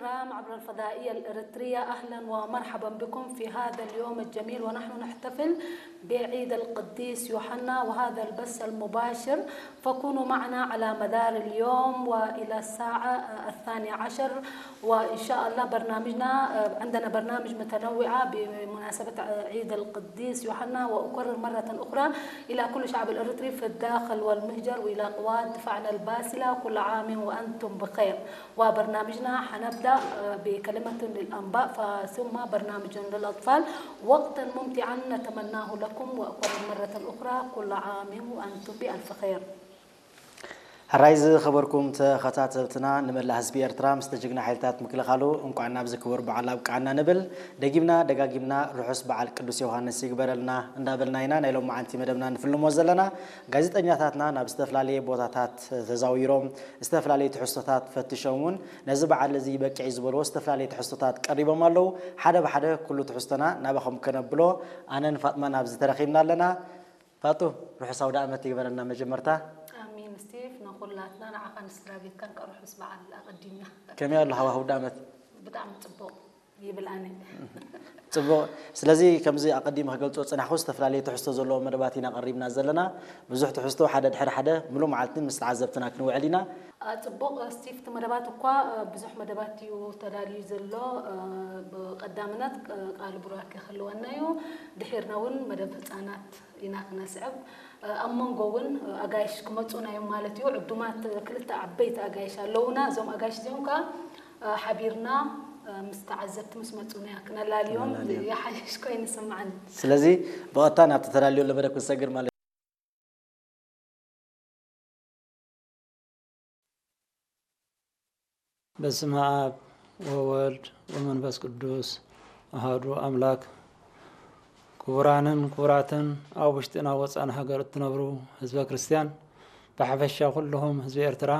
الكرام عبر الفضائية الإريترية، أهلًا ومرحبا بكم في هذا اليوم الجميل، ونحن نحتفل بعيد القديس يوحنا، وهذا البث المباشر، فكونوا معنا على مدار اليوم وإلى الساعة الثانية عشر. وإن شاء الله برنامجنا، عندنا برنامج متنوعة بمناسبة عيد القديس يوحنا. وأكرر مرة أخرى إلى كل شعب الإريتري في الداخل والمهجر، وإلى قوات دفاعنا الباسلة، كل عام وأنتم بخير. وبرنامجنا حنبدأ، آه، بكلمة للأنباء، ف-، ثم برنامج للأطفال. وقتا ممتعا نتمناه لكم، وأكرر مرة أخرى كل عام وأنتم بألف خير. ሕራይ ዝኸበርኩም ተኸታተልትና፣ ንመላእ ህዝቢ ኤርትራ ምስ ጅግና ሓይልታት ምክልኻሉ እንቋዕ ናብዚ ክቡር በዓል ኣብቅዓና ንብል። ደጊምና ደጋጊምና ርሑስ በዓል ቅዱስ ዮሃንስ ይግበረልና እንዳበልና ኢና ናይ ሎማዓንቲ መደብና ንፍልሞ ዘለና። ጋዜጠኛታትና ናብ ዝተፈላለየ ቦታታት ተዛዊሮም ዝተፈላለዩ ትሕዝቶታት ፈቲሾም እውን ነዚ በዓል እዚ በቂዕ ዝበልዎ ዝተፈላለዩ ትሕዝቶታት ቀሪቦም ኣለዉ። ሓደ ብሓደ ኩሉ ትሕዝቶና ናባኹም ከነብሎ ኣነን ፋጥማን ኣብዚ ተረኺብና ኣለና። ፋጡ፣ ርሑስ ኣውደ ዓመት ይግበረልና መጀመርታ። ኣሚን ስቲቭ፣ ንኹላትና ንዓኻን ስድራ ቤትካን ከኣ ርሑስ በዓል ኣቐዲምና። ከመይ ኣሎ ሃዋህው ኣውደ ዓመት? ብጣዕሚ ጽቡቕ ይብል ኣነ። ጽቡቕ። ስለዚ ከምዚ ኣቐዲመ ክገልጾ ዝጸናሕኩ፣ ዝተፈላለየ ትሕዝቶ ዘለዎ መደባት ኢና ቀሪብና ዘለና። ብዙሕ ትሕዝቶ ሓደ ድሕሪ ሓደ ምሉእ መዓልቲ ምስ ተዓዘብትና ክንውዕል ኢና። አ፣ ጽቡቕ ስቲቭ፣ እቲ መደባት እኳ፣ አ፣ ብዙሕ መደባት እዩ ተዳልዩ ዘሎ። አ፣ ብቐዳምነት፣ አ፣ ቃል ቡራኬ ክህልወና እዩ። ድሒርና እውን መደብ ህጻናት ኢና ክነስዕብ። አ፣ ኣብ መንጎ እውን፣ አ፣ ኣጋይሽ ክመጹና እዮም ማለት እዩ። ዕዱማት ክልተ ዓበይቲ ኣጋይሽ ኣለዉና። እዞም ኣጋይሽ እዚኦም ከኣ፣ አ፣ ሓቢርና፣ አ፣ ምስ ተዓዘብቲ ምስ መጹና ከነላልዮም ክነላልዮም። ይሓይሽ ኮይኑ ይስምዓኒ። ስለዚ ብቐጥታ ናብቲ ተዳልዮ ዘሎ መደብ ክንሰግር ማለት እዩ። በስመ ኣብ ወወልድ ወመንፈስ ቅዱስ ኣሃዱ ኣምላክ። ክቡራንን ክቡራትን ኣብ ውሽጥን ኣብ ወፃእን ሃገር እትነብሩ ህዝበ ክርስቲያን ብሓፈሻ ኩልኹም ህዝቢ ኤርትራ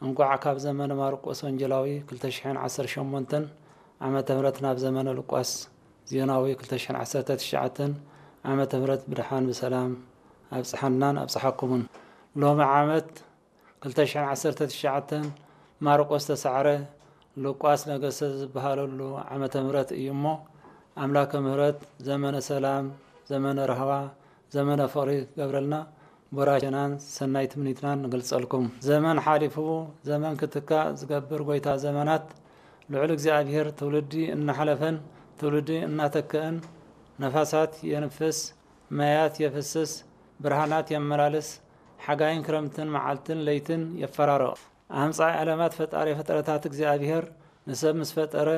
እንኳዕ ካብ ዘመነ ማርቆስ ወንጌላዊ ክልተ ሽሕን ዓሰርተ ሸሞንተን ዓመተ ምህረት ናብ ዘመነ ሉቃስ ዜናዊ ክልተ ሽሕን ዓሰርተ ትሽዓተን ዓመተ ምህረት ብድሓን ብሰላም ኣብጽሓናን ኣብጽሓኩምን። ሎሚ ዓመት ክልተ ሽሕን ዓሰርተ ትሽዓተን ማርቆስ ተሳዕረ፣ ሉቃስ ነገሰ ዝበሃለሉ ዓመተ ምህረት እዩ እሞ፣ ኣምላከ ምህረት ዘመነ ሰላም፣ ዘመነ ራህዋ፣ ዘመነ ፍቕሪ ክገብረልና ቦራሸናን ሰናይ ትምኒትናን ንገልጸልኩም። ዘመን ሓሊፉ ዘመን ክትካእ ዝገብር ጎይታ ዘመናት ልዑል እግዚኣብሔር ትውልዲ እናሓለፈን ትውልዲ እናተክእን ነፋሳት የንፍስ፣ ማያት የፍስስ፣ ብርሃናት የመላልስ፣ ሓጋይን ክረምትን መዓልትን ለይትን የፈራርቕ። ኣምጻኢ ዓለማት ፈጣሪ ፍጥረታት እግዚኣብሔር ንሰብ ምስ ፈጠረ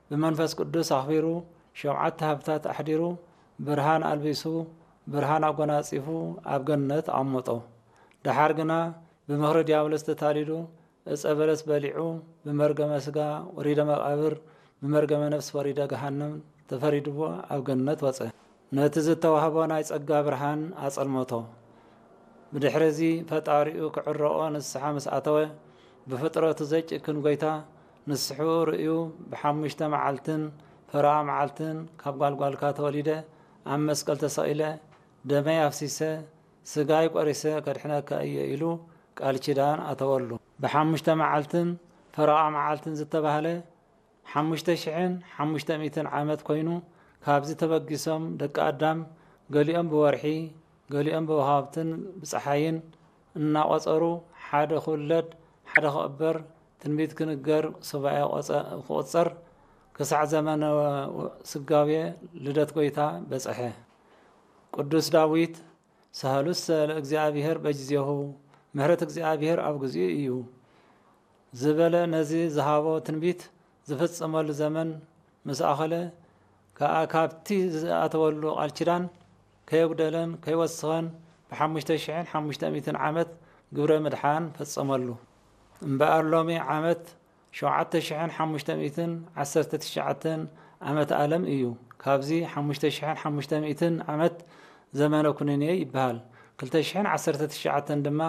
ብመንፈስ ቅዱስ ኣኽቢሩ ሸውዓተ ሃብታት ኣሕዲሩ ብርሃን ኣልቢሱ ብርሃን ኣጎናጺፉ ኣብ ገነት ኣቐመጦ። ደሓር ግና ብምኽሪ ዲያብሎስ ተታሊሉ ዕጸ በለስ በሊዑ ብመርገመ ስጋ ወሪደ መቓብር ብመርገመ ነፍስ ወሪደ ገሃነም ተፈሪድዎ ኣብ ገነት ወጸ። ነቲ ዝተዋህቦ ናይ ጸጋ ብርሃን ኣጸልመቶ። ብድሕሪ እዚ ፈጣሪኡ ክዕረቖ ንስሓ ምስ ኣተወ ብፍጥረቱ ዘይጭክን ጎይታ ንስሑ ርእዩ ብሓሙሽተ መዓልትን ፈረቓ መዓልትን ካብ ጓልጓልካ ተወሊደ ኣብ መስቀል ተሰቒለ ደመይ ኣፍሲሰ ስጋይ ቆሪሰ ከድሕነካ እየ ኢሉ ቃል ኪዳን ኣተወሉ። ብሓሙሽተ መዓልትን ፈረቓ መዓልትን ዝተባህለ ሓሙሽተ ሽሕን ሓሙሽተ ሚእትን ዓመት ኮይኑ ካብዚ ተበጊሶም ደቂ ኣዳም ገሊኦም ብወርሒ ገሊኦም ብወሃብትን ብፀሓይን እናቖፀሩ ሓደ ክውለድ ሓደ ክቕበር ትንቢት ክንገር ሱባኤ ክቑፀር ክሳዕ ዘመነ ስጋዌ ልደት ጎይታ በፀሐ። ቅዱስ ዳዊት ሳህሉሰ ለእግዚኣብሔር በጊዜሁ፣ ምሕረት እግዚኣብሔር ኣብ ግዚኡ እዩ ዝበለ ነዚ ዝሃቦ ትንቢት ዝፍጸመሉ ዘመን ምስ ኣኸለ ከኣ ካብቲ ዝኣተወሉ ቃል ኪዳን ከየጉደለን ከይወስኸን ብሓሙሽተ ሽሕን ሓሙሽተ ሚእትን ዓመት ግብረ ምድሓን ፈጸመሉ። እምበኣር ሎሚ ዓመት ሸውዓተ ሽሕን ሓሙሽተ ሚእትን ዓሰርተ ትሽዓተን ዓመት ኣለም እዩ። ካብዚ ሓሙሽተ ሽሕን ሓሙሽተ ሚእትን ዓመት ዘመነ ኩነኔ ይበሃል። ክልተ ሽሕን ዓሰርተ ትሽዓተን ድማ